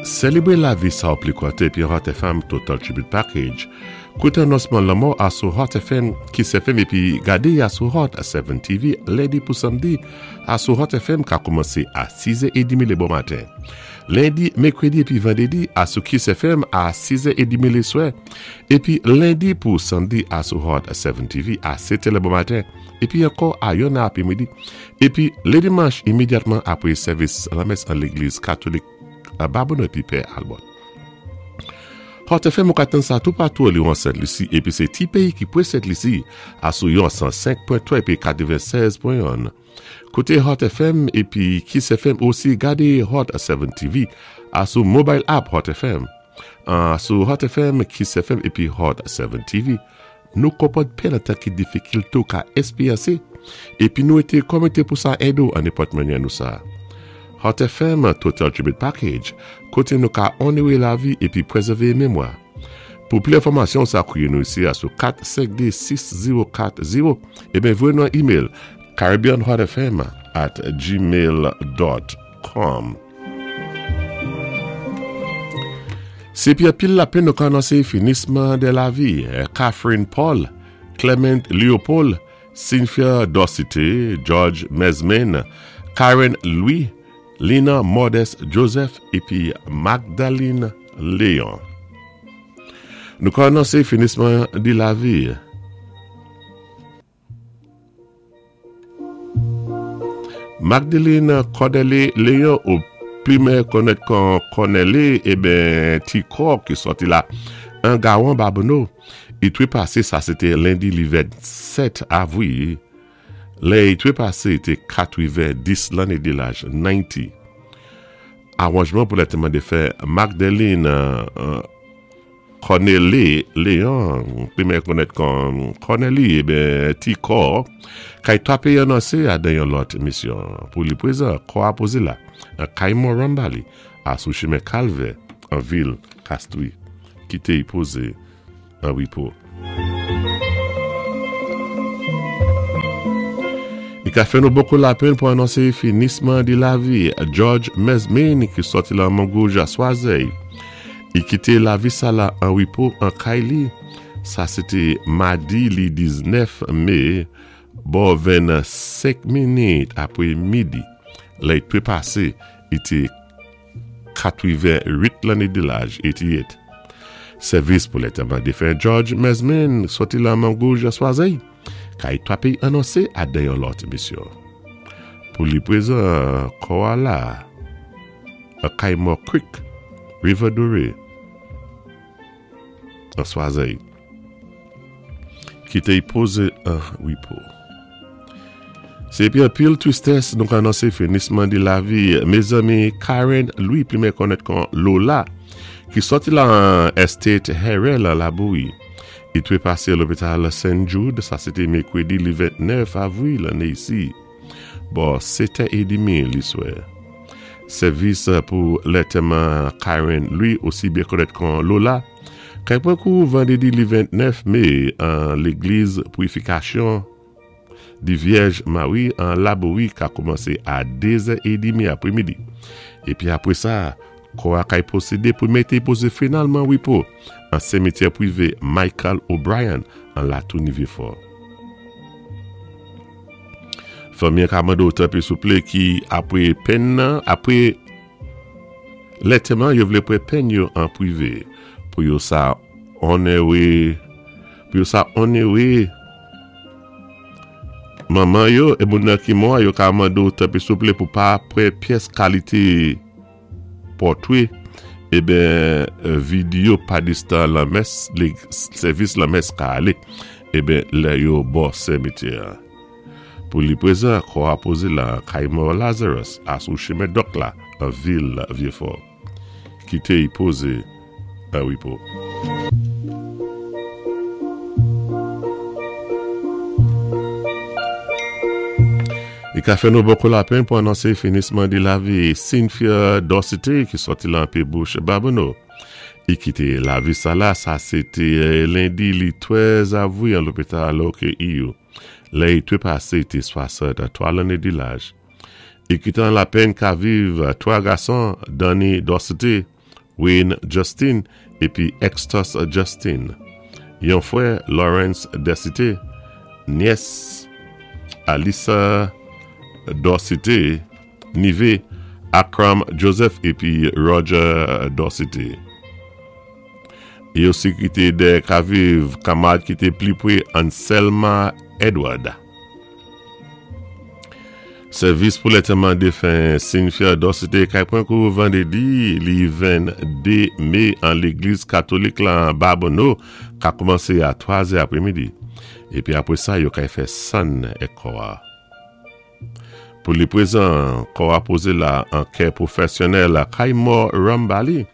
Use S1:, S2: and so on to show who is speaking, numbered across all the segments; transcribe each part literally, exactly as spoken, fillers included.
S1: Sélébwé lavi sa ou pli kwanté épi Hot F M Total Tribute Package. Kouté anonsman lanmò asou Hot F M, Kiss F M épi gadé asou Hot sèt T V lendi pou samdi asou Hot F M ka koumansé a sizè trant lé bon maten. Lendi, mèkwédi épi vandédi asou Kiss F M a sizè trant lé swè. Épi lendi pou samdi asou Hot sèt T V a sèt lé bon maten. Épi ankò a yonn apré midi. Épi lé dimanch imédyatman apwé sèvis lamès an légliz katolik a Babonneau épi Pè Albert. Hot F M ou ka tann sa toupatou li an Sent Lisi épi sé ti péyi ki pwé Sent Lisi asou yon san senk pwen twa épi katèvennsèz pwen youn. Kouté Hot F M épi Kiss F M, osi gadé Hot sèt T V asou mobile app Hot F M. Sou Hot F M, Kiss F M épi Hot sèt T V. Nou konpwann penn an ki difikilté ou ka èspéryansé épi nou été komité pou sa èdé ou an nenpòt mannyè nou sa. Hot F M Total Tribute Package, koté nou ka onoré lavi épi pwézèvé mémwa. Pou plis enfòmasyon, sa kwiyé nou isi a sou kat senk dé sis zewo kat zewo ébyen voyé nou an email caribbeanhotfm at gmail dot com. Sé pi anpil lapenn nou ka anonsé finisman de lavi Catherine Paul, Clement Leopold, Cynthia Dorsité, George Mesmin, Karen Louis, Lina Modeste Joseph épi Magdalene Léon. Nou ka anonsé finisman de lavi Magdalene Cordelé Léon ou pli konnèt kon Cornelé ébyen Tikor ki sòti la an Gawan Babonneau. I twépasé, sa sé té lendi li vennsèt avril. Lè i twépasé té katèvenndis lanné de laj, katèvendis. Awanjman pou lantèman défen Magdalene euh, Cornelé Léon, pli konnèt kon Corneli ébyen Tikor, kay twapé anonsé a dan yon lòt misyon. Pou li pwézan, kò a pozé la, an kay mò Rambali, asou chimen Kalvè, an vil Castries, kité i pozé an wépo. I ka fè nou bokou lapenn pou anonsé finisman de lavi George Mesmin ki sòti la Mongouge a Swazey. I kité lavi sa la an wépo an kay li. Sa sé té madi li diznèf mé, bò vennsenk minit apwé midi. Lè i twépasé, i té katèvenwit lanné de laj, katèvenwit. Sèvis pou lantèman défen George Mesmin sòti la Mongouge a Swazey. Kay twapé anonsé a dan yon lòt misyon. Pou li pwézan kò a la, a Kaymor Creek, River Doré, an Swazey. Kité i pozé an wépo. Sé pi anpil twistès nou ka anonsé finisman de lavi mézanmi Karen Louis, pli konnèt kon Lola, ki sòti la an Estate Harrell la Laboui. I twépasé lopital Saint Jude, sa sé té mèkwédi li vennèf avril lanné isi. Bò sèt è dmi li swè. Sèvis pou lantèman Karen Louis, osi byen konnèt kon Lola, kay pwan kou vandédi li vennèf mé an légliz Purifikasyon di Vyèj Mari an Laboui ka koumansé a dezè trant apwé midi. Épi apwé sa, kò a kay pwosédé pou mété pozé finalman wépo an simityè pwivé Michael O'Brien an Latouni Vieux-Fort. Fanmi ka mandé tanpwi souplé ki apwé penn nan, apwé lantèman yo vlé pwan penn yo an pwivé pou yo sa onoré pou yo sa onoré manman yo é moun nan ki mò yo ka mandé tanpwi souplé pou pa pwan pyès kalité pòtwé ébyen videyo padistan lamès sèvis lamès ka alé ébyen lè yo bò simityè. Pou li pwézan kò a pozé la Kaymor Lazarus asou chimen Dok la an vil Vieux-Fort. Kité i pozé an wépo. I ka fè nou bokou lapenn pou anonsé finisman de lavi Cynthia Dorsité ki sòti la an Bouche Babonneau. I kité lavi sa la, sa sé té lendi li trèz avril an lopital O K E U. Lè i twépasé té swasanntwa lanné de laj. I kité an lapenn ka viv twa gason, Danny Dorsité, Wayne Justin épi Extus Justin. Yon fwè Lawrence Desité, nyès Alissa Dorsité, nivé Akram Joseph épi Roger Dorsité. Yo osi kité dè ka viv kanmwad ki té pli pwé Anselma Edward. Sèvis pou lantèman défen Cynthia Dorsité kay pwan kou vandédi li venndé mé an légliz katolik la Babonneau ka koumansé a twa zè apwémidi. Épi apwé sa yo kay fè sann èk kò-a. Pou li pwézan, kò-a pozé la an kè pwofèsyonnèl kay mò Rambali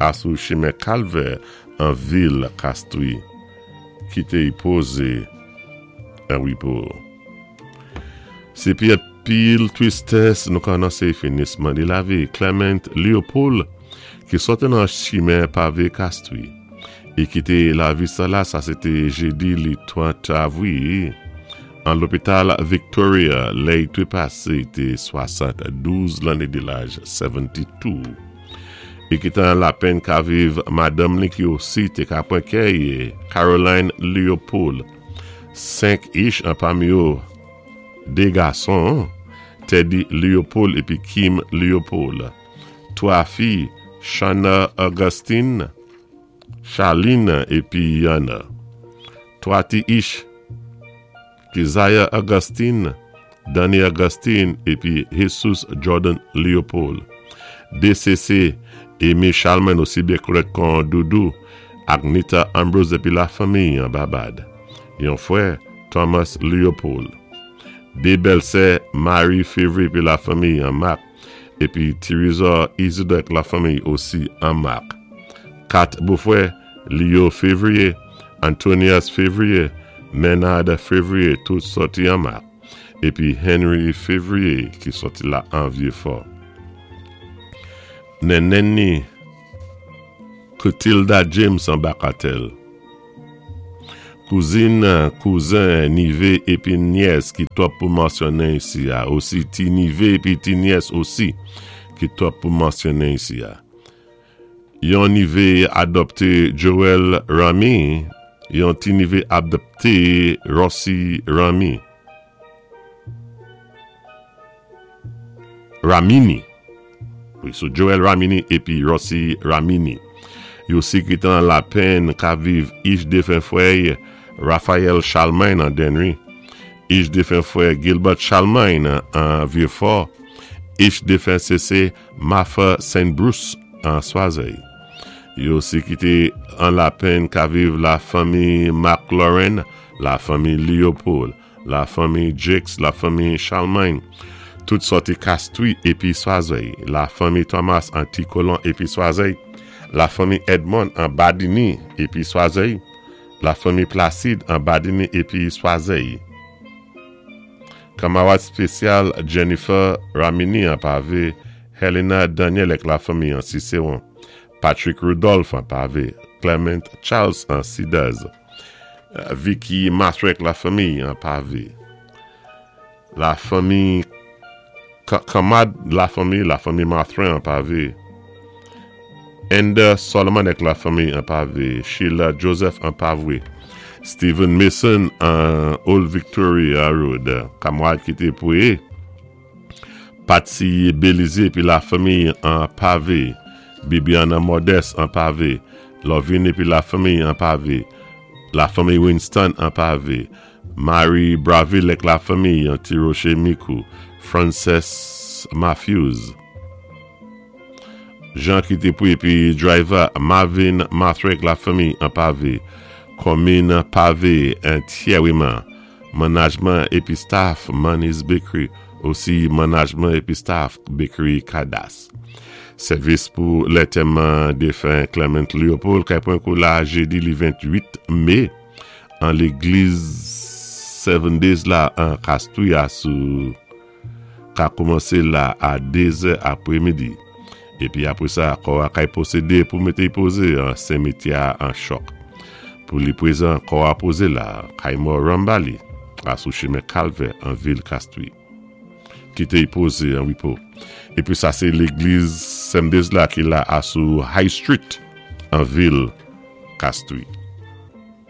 S1: asou chimen Kalvè an vil Castries ki té pozé an wépo. Sé pi pil twistès nou ka anonsé finisman di lavi Clement Leopold ki sòti nan chimen pavé Castries é kité lavi sa la, sa sé té jédi li trant avwi an lopital Victoria, lè i té pasé té swasanndouz lanné di laj, swasannde. I kité an lapenn ka viv madanm li ki osi té ka pwan kè, Caroline Leopold. Senk ich an pami yo dé gason, Teddy Leopold épi Kim Leopold. Twa fi, Shana Augustine, Charlene épi Yana. Twa ti ich, Keziah Augustine, Danny Augustine épi Jesus Jordan Leopold. D C C, Amy Chalman osi byen konnèt kon Doudou, Agnita Ambrose épi lafanmi an Babad. Yon fwè, Thomas Leopold. Dé bèlsè, Marie Février épi lafanmi an Marc, épi Theresa Isidore lafanmi osi an Marc. Kat bofwè, Leo Février, Antonius Février, Menard Février, tout sòti an Marc. Épi Henry Février ki sòti la an Vieux-Fort. Nennenni Clotilda James an Bakatèl. Kouzin, kouzen, nivé épi nyès ki twòp pou mansyonnen isi a. Osi ti nivé épi ti nyès osi ki twòp pou mansyonnen isi a. Yon nivé adopté Joel Ramy, yon ti nivé adopté Rossi Ramy. Ramini. Wi, so Joel Ramini épi Rossi Ramini. Yo osi kité an lapenn ka viv ich défen fwè Raphaël Charlemagne an Dennery. Ich défen fwè Gilbert Charlemagne an Vieux-Fort. Ich défen C C Martha Saint Bruce an Choiseul. Yo osi kité an lapenn ka viv lafanmi McLaurin, lafanmi Leopold, lafanmi Jakes, lafanmi Charlemagne, tout sòti Castries épi Choiseul, lafanmi Thomas an Ti Colon épi Choiseul, lafanmi Edmond an Badini épi Choiseul, lafanmi Placide an Badini épi Choiseul. Kanmwad spésyal Jennifer Ramini an Pavé, Helena Daniel èk lafanmi an Cicéron, Patrick Rudolph an Pavé, Clement Charles an Cedars, Vicky Masrek lafanmi an Pavé. Lafanmi kanmwad lafanmi, lafanmi Mathurin an Pavé. Ender Solomon èk lafanmi an Pavé, Sheila Joseph an Pavé, Stephen Mason an Old Victoria Road, kanmwad ki té pwé, Patsy Belize épi lafanmi an Pavé, Bibiana Modeste an Pavé, Lovin épi lafanmi an Pavé, lafanmi Winston an Pavé, Marie Braville èk lafanmi an Tiroche Mikou, Frances Matthews, Jean ki té pwé épi driver Marvin Mathrek lafanmi an Pavé, Komin Pavé antyèwiman, management épi staff Money's Bakery, osi management épi staff Bakery Kadas. Sèvis pou lantèman défen Clement Leopold kay pwan kou la jédi li venntwit mé an légliz Seven Days la an Castries sou ka koumansé la a dé zè apwémidi. Épi apwé sa, kò a kay pwosédé pou mété pozé an simityè an Choc. Pou li pwézan, kò a pozé la, kay mò Rambali, asou chimen Kalvè an vil Castries. Kité y pozé an wépo. Épi sa sé légliz Seven Days la ki la asou High Street an vil Castries.